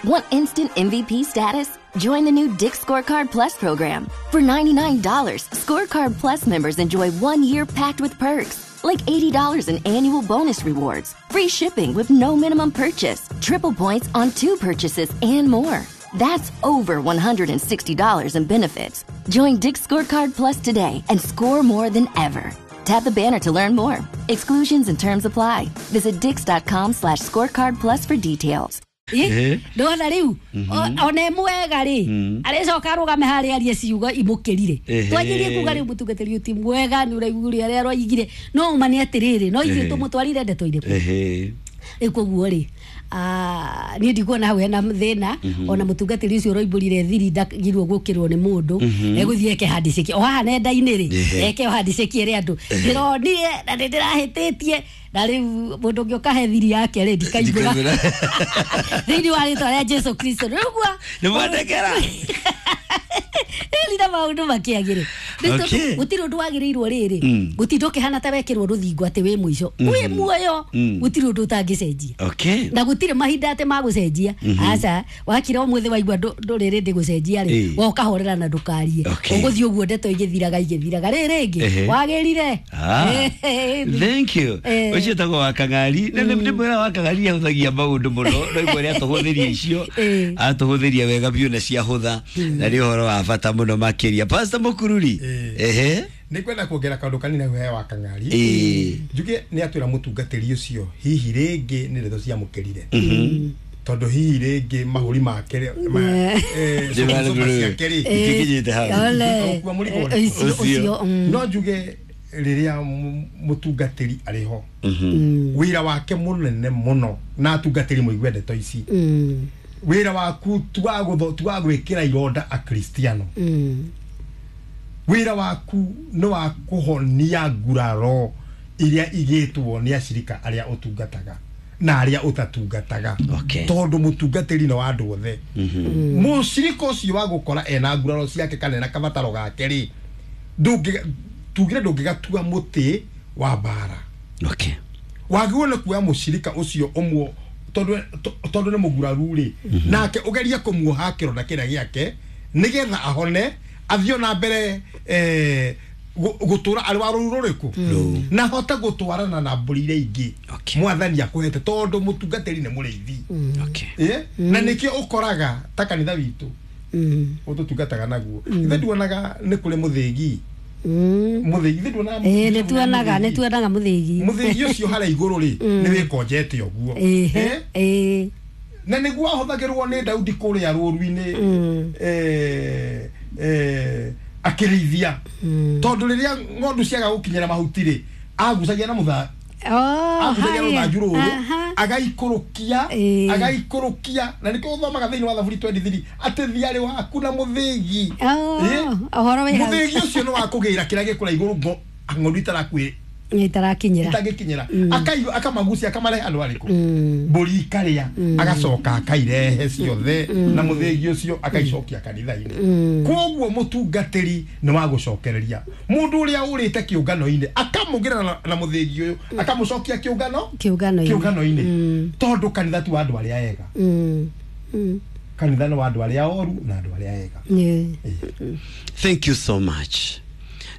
Want instant MVP status? Join the new Dick's Scorecard Plus program. For $99, Scorecard Plus members enjoy 1 year packed with perks, like $80 in annual bonus rewards, free shipping with no minimum purchase, triple points on two purchases, and more. That's over $160 in benefits. Join Dick's Scorecard Plus today and score more than ever. Tap the banner to learn more. Exclusions and terms apply. Visit dicks.com/scorecard plus for details. Ndona riu ona mwega ri aricoka arugame haria arie ciugo imukirire. Twanjirie kuga riu mutungatiri ti mwega ni uraiguire aria aroigire no ma ni atiriri no ithuĩ tumutwarire ndeto iriku. Rĩu koguo rĩ, niĩ ndikuona hau hena thĩna. Ona mũtungatĩri ũcio ũroimbũrire thiri ndagirwo gũkĩrwo nĩ mũndũ egũthiĩ eke handiceki o haha nenda-inĩ rĩ, eke o handiceki ĩrĩ andũ ndĩronire na nĩ ndĩrahĩtĩtie, na rĩu mũndũ ũngĩ ũkahe thiri yake rĩ, ndikaimbũra thĩinĩ wa rĩtwa rĩa Jesu Kristo rĩu gua. Nĩ mwandekera. Rĩu maũndũ makĩagĩre. Gũtirĩ ũndũ wagĩrĩirwo rĩrĩ gũtinda ũkĩhana ta wekĩrwo rũthingo atĩ wĩ mũico wĩ muoyo. Gũtirĩ ũndũ ũtangĩcenjia na gũtirĩ mahinda atĩ magũcenjia. Aca, wakira ũmũthĩ waigua ndũrĩ rĩndĩ gũcenjia rĩ, we ũkahorera na ndũkarie. Ũgũthiĩ ũguo ndeto igĩthiraga igĩthiraga rĩ rĩngĩ wagĩrire. Thank you. Ũcio tagwo wa Kang'ari nĩ mwĩra wa Kang'ari ahũthagia maũndũ mũno no igua rĩa atũhũthĩria icio, atũhũthĩria wega biũ na ciahũtha na nĩ ũhoro wa bata mũno makĩria. Pastor Mũkururi. Nĩ kwenda kuongera kaũndũ kanini hau he wa Kang'ari. Njuge nĩ atwĩra mũtungatĩri ũcio hihi rĩngĩ nĩ ndeto ciamũkĩrire tondũ hihi rĩngĩ mahũri make cuba ciake rĩ itikinyĩte hau. Ũkua mũrigo ũrĩkũ? Ũcio. No njuge rĩrĩa mũtungatĩri arĩ ho, wĩra wake mũnene mũno, na atungatĩri mũigue ndeto ici, wĩra waku ti wa gwĩkĩra ironda akristiano. Wĩra waku nĩ wa kũhonia nguraro iria igĩtwo nĩ acirika arĩa ũtungataga na arĩa ũtatungataga, tondũ mũtungatĩri nĩ wa andũ othe. Mũcirika ũcio wa gũkora ena nguraro ciake kana ena kabataro gake rĩ, tugire ndũngĩgatua mũtĩ wa mbara. Wagĩrĩirwo nĩ kuoya mũcirika ũcio ũmwe tondũ nĩ mũguraru rĩ, nake ũgerie kũmuoha kĩronda kĩrĩa gĩake nĩgetha ahone, athiĩ ona mbere gũtũra arĩ wa rũru rũrĩkũ na ahote gũtwarana na mbũri iria ingĩ mwathani akũhete, tondũ mũtungatĩri nĩ mũrĩithi. Na nĩkĩo ũkoraga ta kanitha witũ ũtũtungataga naguo, ithe nduonaga nĩ kũrĩ mũthĩgi, mũthĩgi ithe nduonaga? Nĩ tuonaga, nĩ tuonaga mũthĩgi. Mũthĩgi ũcio harĩa igũrũ rĩ, nĩ wĩkonjete ũguo. Na nĩguo ahũthagĩrwo nĩ Daudi kũrĩa rũru-inĩ akĩrĩithia, tondũ rĩrĩa ng'ondu ciaga gũkinyĩra mahuti rĩ, agucagia na mũtha agucagia rũthanju rũrũ agaikũrũkia, agaikũrũkia. Na nĩkĩo ũthomaga thĩinĩ wa Thaburi 23 atĩ thiarĩ waku na mũthĩgi. Ũhoro wĩ hau. Mũthĩgi ũcio nĩ wa kũgĩra kĩrĩa gĩkũra igũrũ ng'ondu itarakuĩ itarakinyĩra. Itangĩkinyĩra. Akamagucia, akamarehe handũ harĩkũ mbũri ikarĩa, agacoka akairehe ciothe na mũthĩgi ũcio, akaicokia kanitha-inĩ. Koguo mũtungatĩri nĩ wa gũcokereria mũndũ ũrĩa ũrĩte kĩũngano-inĩ, akamũgĩra na mũthĩgi ũyũ, akamũcokia kĩũngano kĩũngano-inĩ. Kĩũngano-inĩ, tondũ kanitha ti wa andũ arĩa ega. Kanitha nĩ wa andũ arĩa oru na andũ arĩa ega. Thank you so much.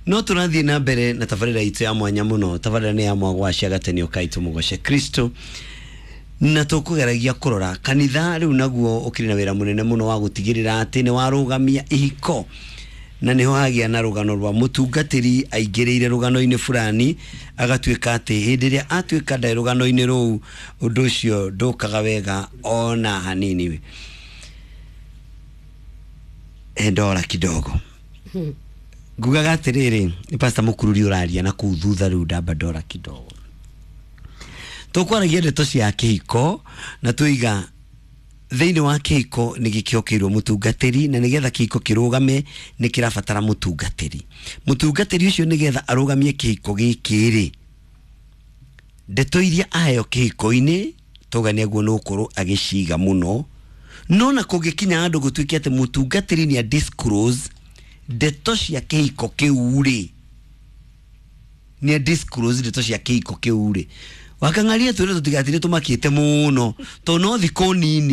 No tũrathiĩ na mbere na tabarĩra itũ ya mwanya mũno. Tabarĩra nĩ ya mwagwacia gatenio kaitũ mũgoce Kristo, na tũkũgeragia kũrora kanitha rĩu naguo ũkĩrĩ na wĩra mũnene mũno wa gũtigĩrĩra atĩ nĩ warũgamia ihiko, na nĩho hagĩa na rũgano rwa mũtungatĩri aingĩrĩire rũgano-inĩ fulani, agatuĩka atĩ hĩndĩ ĩrĩa atuĩka ndarĩ rũgano-inĩ rũu, ũndũ ũcio ndũkaga wega ona hanini. Ndora kidogo ngugaga atĩrĩrĩ, nĩ Pastor Mũkururi ũraria na kũu thutha. Rĩu ndamba ndora kidogo, tũkwaragia ndeto cia kĩhiko na tũiga thĩinĩ wa kĩhiko nĩ gĩkĩokeirwo mũtungatĩri, na nĩgetha kĩhiko kĩrũgame nĩ kĩrabatara mũtungatĩri. Mũtungatĩri ũcio nĩgetha arũgamie kĩhiko gĩkĩ rĩ, ndeto iria aheo kĩhiko-inĩ tauga nĩ aguo nĩ gũkorwo agĩciga mũno. No na kũngĩkinya handũ gũtuĩke atĩ mũtungatĩri nĩ a disclose ndeto cia kĩhiko kĩu rĩ, nĩ a disclose ndeto cia kĩhiko kĩu rĩ, wakang'aria twĩre tũtigatire tũmakĩte mũno tondũ no thikũ nini.